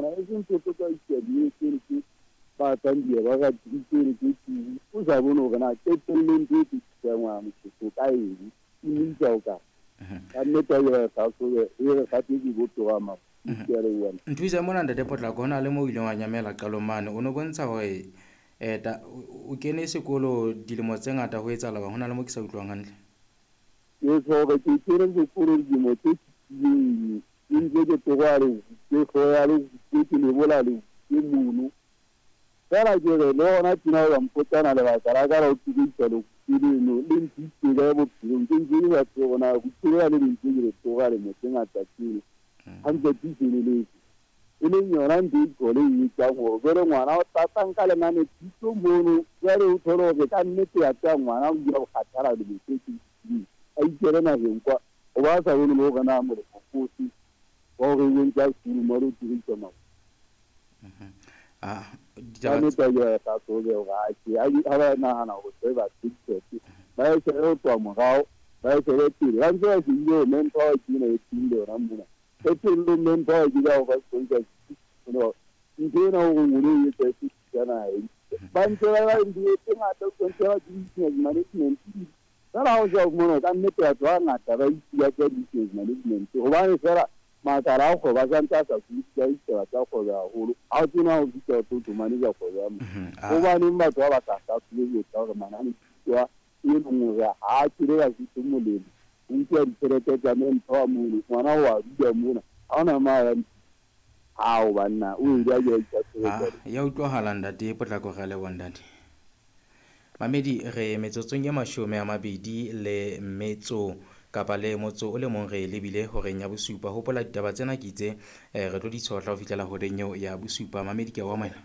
mona e seng tse tsa tsene tse ba tsang di ba ka tsene tse tse o sa bone hore na qetellong tse tse tsang wa motho ka eng e mo isa o ka ka nnete ya sa so e re sa tse bo tloga ma. Nthuse mona ntate Potlako, ho na le mo o ileng wa nyamela qalong mane, o no bontsha hore o kene sekolo dilemo tse ngata ho etsahala ho na le mo ke sa utlwang hantle. Ke hore ke kene sekolo dilemo tse fetileng, ke ntse ke tloha le ke hloya le ke lebola le ke mono. Fela ke re le hona tjena o mpotsana lebaka la ka la ho tloisa le leno le ntse ka bophelong ke ntse ke sa tsebe hore na bophelo le ntse ke le tloha le mo tse ngata tseno. Hantle tse e leng yona ntho e tlhole e etsang hore jwale ngwana o tlatsa nka lenane thuto mono, jwale o thole hore ka nnete ya tsaya ngwana o dula o kgathala lemo tse tse a ikele naheng kwa o ba sa bone le hore na molemo ke ofe wa hore o entse a sekolo mo le o dirisa mao. Ka nnete a ke sa tsebe hore ha ba nahana hore se ba tsebise ba e shebe ho tloha morao ba e shebe pele ba ntse ba shebile hore manpower ke ena e teng le yona mona. Qetellong manpower ke ka ho ba sponsor ntho ena hore ngolo e etsa e fetisa naheng. Ba ntse ba ba ntho tse ngata o ntse ba business management. Fela ha o sa fumana ka nnete batho ba ngata ba itse tsa business management hobane fela makala a kgwebo a santse a sa sebedisa ditaba tsa kgwebo haholo. Ha o tsena ho fihla o tlo manager kgwebo ya motho. Hobaneng batho ba ba sa hlahlobe ho etsa hore manane a e leng hore ha a tswele Basotho molemo. O nkuwa ditjhelete tsa manpower mono, ngwana o a dula mona, ha hona mo a yang. Ao banna, o ile a ke Ya utlwahala ntate Potlako, re a leboha ntate. Mamedi re metsotsong e 28 kapa le motso o le mong re lebile horeng ya bosupa. Hopola ditaba tsena ke itse re tlo di tshohla ho fihlela horeng eo ya bosupa. Mamedi ke a o amohela.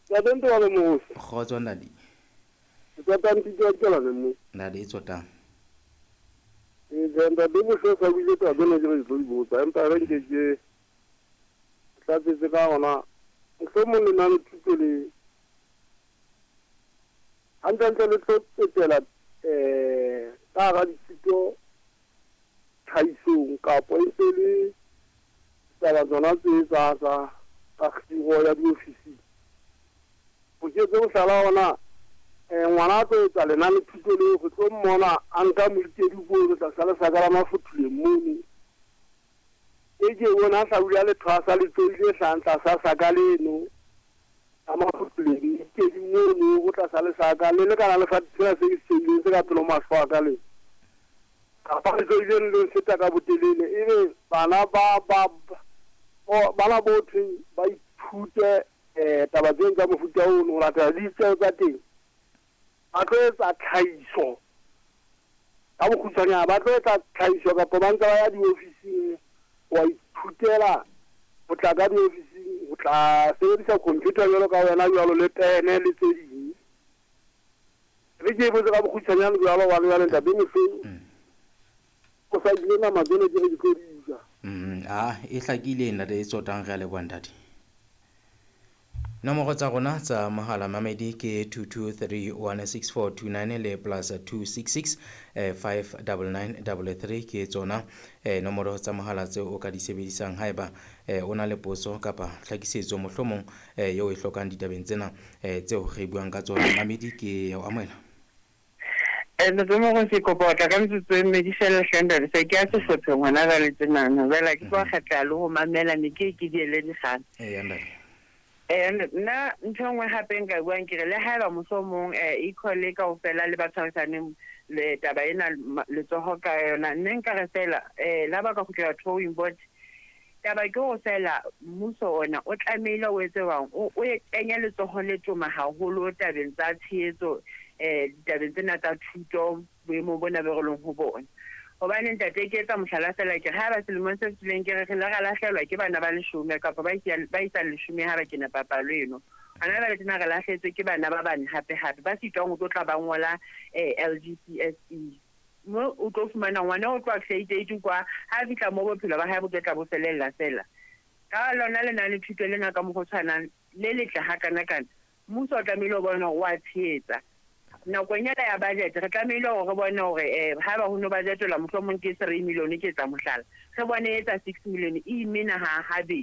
Ntate Ntwale Mohosi. Kgotso ntate. Tsotang pitso ke la mo. Ntate e tsotang. E ntate Mohosi sa buile taba tsena ke re tlo di botsa empa re nke ke tlatsetse ka hona mohlomong lenane thuto le hantlentle le tlo tsetela ka hara dithuto tlhahisong kapo e ntse le taba tsona tse tsa tsa kgiro ya diofising. Ho ke tse mohlala ona ngwana a tlo etsa lenane thuto leo re tlo mmona a nka moikedi ko tlasa lesaka la Mafothuleng mono. E ke bona a hlabula lethwasa le tsoile hlahang tlasa saka leno a Mafothuleng moikedi mono ho tlasa lesaka le lekana le sefate sena se ke se tsoileng se ka pele ho mahlo a ka leno. Kapa le tsoileng le feta ka botelele ebe bana ba bana bothwe ba ithute taba tseno tsa mofuta ono ho latela ditjeo tsa teng. Ba tlo etsa tlhahiso ka bokgutshwanyane, ba tlo etsa tlhahiso kapa ba ntse ba ya diofising wa ithutela ho tla ka diofising ho tla sebedisa computer jwalo ka wena jwalo le pene le tse ding. Re ke botse ka bokgutshwanyane jwalo hobane jwale ntate Mohlou o sa ile nama tseno ke re di tlo di ja. E hlakile ntate e tsotang, re a leboha ntate. Nomoro tsa rona tsa mohala mamedi ke 22316429 le plus 266 59933 ke tsona nomoro tsa mohala tseo o ka di sebedisang haeba o na le potso kapa tlhakisetso mohlomong eo e hlokang ditabeng tsena tseo re buang ka tsona. Mamedi ke o amohela. Ntate Mohosi kopa ho tla ka metsotso e mmedi fela hle ntate, se ke ya sehlopheng hona jwale tjenana. Jwale ke tlo kgetla le ho mamela ne ke ke di ele dikgang. Eya ntate. Nna ntho e nngwe hape nka buang ke re le haeba mohlomong e-call kaofela le ba tshwarisaneng le taba ena letsoho ka yona, nne nka re fela la ba ka kgutlela drawing board. Taba ke hore fela mmuso ona o tlamehile o etse jwang, o kenye letsoho le toma haholo tabeng tsa tshehetso ditabeng tsena tsa thuto boemong bona bo re leng ho bona. Hobane ntate ke etsa mohlala fela ke re haeba selemong se fetileng ke re re ile ra lahlehelwa ke bana ba 10 kapa ba isang 10 ha ba kena papalo eno. Hona jwale tjena re lahlehetswe ke bana ba bane hape hape ba sitwang ho tlo tla ba ngola LGCSE. Mo o tlo fumana ngwana o tloha grade 8 kwa ha fihla mo bophelo ba hae bo tlo tla bo felella fela. Ka lona lenane thuto lena ka mokgwa o tshwanang le letle hakanakana, mmuso o tlamehile ho bona hore wa tshehetsa. Nakong ena ya budget re tlamehile hore re bone hore haeba ho no budgetela mohlomong ke 3 million ke etsa mohlala, re bone e etsa 6 million e imena ha habedi.